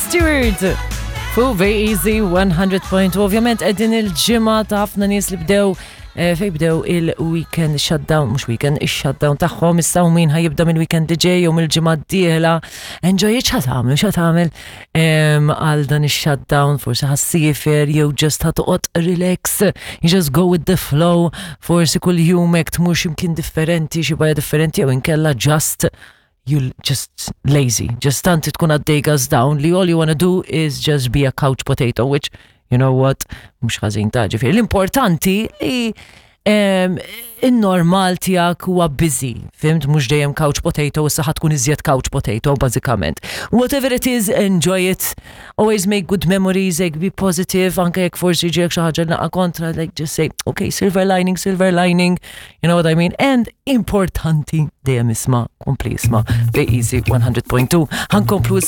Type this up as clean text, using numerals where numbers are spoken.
Stewart. Fu Easy 100.2. Ovvjament qegħdin il-ġimgħa ta' ħafna nies li bdew eh, fej bdew il-weekend shutdown, mhux weekend, ix-shutdown tagħhom issa u min ħajibda mill-weekend li ġej jew mill-ġimgħa d-dieħla. Enjoy it x'ħa tagħmel, x'ħa tagħmel għal dan ix-shutdown, forsi ħassifer jew just ħa toqgħod relax, you just go with the flow, forsi kull jum hekk tmur x'imkien differenti, xi bajja differenti jew inkella just you just lazy, just tant tkun għaddej gas down li all you wanna do is just be a couch potato, which, you know what, mhux ħażin ta' ġifieri. L-importanti li in-normal tiegħek huwa busy, fimt mhux dejjem couch potato, issa ħa tkun iżjed couch potato bażikament. Whatever it is, enjoy it. Always make good memories, like be positive, anke jekk forsi ġiek xi ħaġa naqa' kontra, like just say, okay, silver lining, silver lining, you know what I mean? And importanti dejjem isma' kompli isma' Bej Easy 100.2. Ħankomplu.